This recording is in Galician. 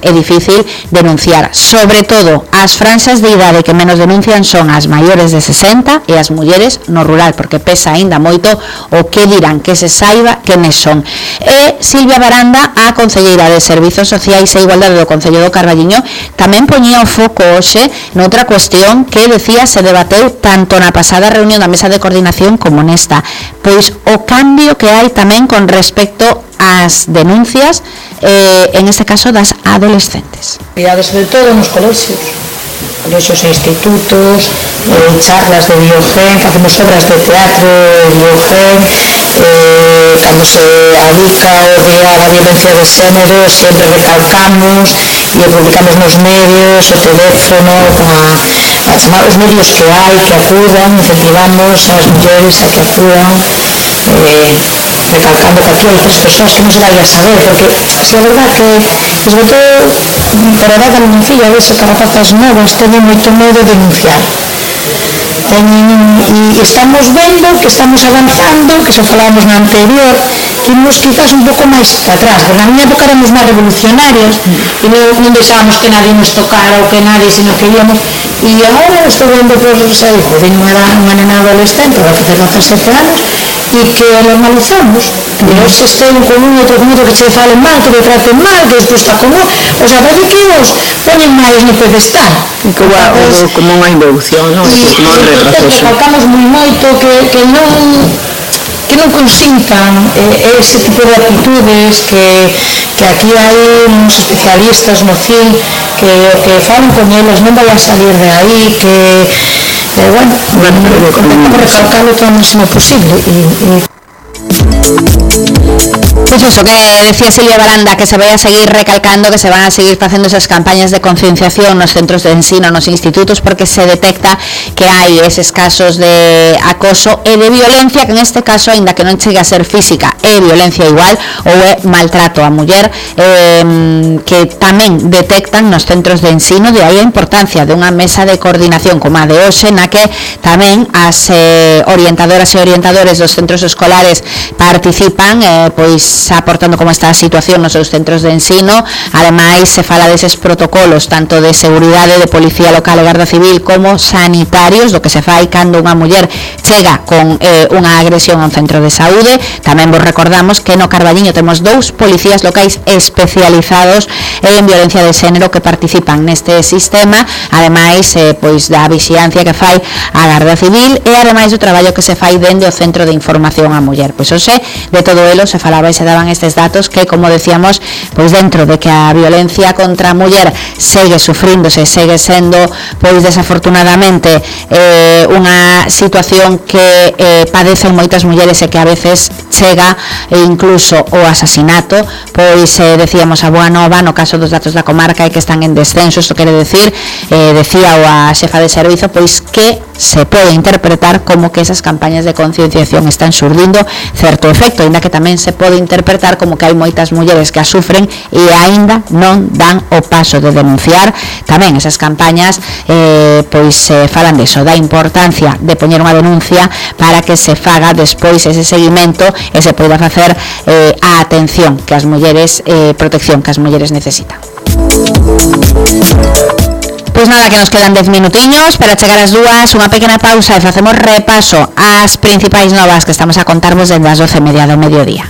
é difícil denunciar, sobre todo as franxas de idade que menos denuncian son as maiores de 60 e as mulleres no rural, porque pesa aínda moito o que dirán, que se saiba quenes son. E Silvia Baranda, a concelleira de Servizos Sociais e Igualdade do Concello do Carballiño, tamén poñía o foco hoxe noutra cuestión que decía se debateu tanto na pasada reunión da mesa de coordinación como nesta, pois o cambio que hai tamén con respecto ás denuncias, en este caso das adolescentes. Sobre todo nos colexios e institutos, charlas de Biogen, facemos obras de teatro de Biogen, cando se adica o día da violencia de xénero sempre recalcamos e publicamos nos medios, o teléfono, a chamar os medios que hai, que acudan, incentivamos as mulleres a que acudan, recalcando que aquí hai 3 persoas que non se vai a saber, porque se é verdad que, sobre todo, por a edad da miña filla, vese que rapazas novas teñen moito medo de denunciar. E estamos vendo que estamos avanzando, que xa falábamos na anterior, que imos quizás un pouco máis para atrás, porque na miña época éramos máis revolucionarios e non deixábamos que nadie nos tocara ou que nadie, sino que íamos, e agora estou vendo, tenho unha nena adolescente, vai facer 17 anos, e que normalizamos, que hoxe estén con un outro que che falen mal, que te traten mal, que despois está como, o sea, parece que os ponen máis no pedestal. Como unha involución, non? Como un retroceso. Recalcamos moi moito que non consintan ese tipo de actitudes, que aquí hai uns especialistas no CIL que falan con eles, non vai a salir de aí, que bueno, intentamos recalcarlo todo o máximo posible. Pois iso que decía Silvia Baranda, que se vai a seguir recalcando, que se van a seguir facendo esas campañas de concienciación nos centros de ensino, nos institutos, porque se detecta que hai eses casos de acoso e de violencia, que en este caso, aínda que non chegue a ser física, é violencia igual ou é maltrato á muller, que tamén detectan nos centros de ensino. De aí a importancia de unha mesa de coordinación como a de hoxe, na que tamén as orientadoras e orientadores dos centros escolares participan, pois aportando como está a situación nos seus centros de ensino. Ademais, se fala deses protocolos tanto de seguridade, de policía local e garda civil, como sanitarios, do que se fai cando unha muller chega con unha agresión a un centro de saúde. Tamén vos recordamos que no Carballiño temos 2 policías locais especializados en violencia de xénero que participan neste sistema, ademais pois da vixiancia que fai a garda civil e ademais do traballo que se fai dende o centro de información á muller. Pois hoxe de todo elo se falaba e se daban estes datos que, como decíamos, pois dentro de que a violencia contra a muller segue sufríndose, segue sendo, pois desafortunadamente, unha situación que padecen moitas mulleres e que a veces chega incluso o asasinato, pois decíamos a boa nova no caso dos datos da comarca e que están en descenso. Isto quere decir, decía a xefa de servizo, pois que se pode interpretar como que esas campañas de concienciación están surdindo certo efecto, ainda que tamén se pode interpretar como que hai moitas mulleres que a sufren e aínda non dan o paso de denunciar. Tamén esas campañas pois falan deso, da importancia de poñer unha denuncia para que se faga despois ese seguimento e se poida facer a atención que as mulleres, protección que as mulleres necesitan. Pois nada, que nos quedan 10 minutiños para chegar ás 2, unha pequena pausa e facemos repaso ás principais novas que estamos a contarvos dende as 12:30 do mediodía.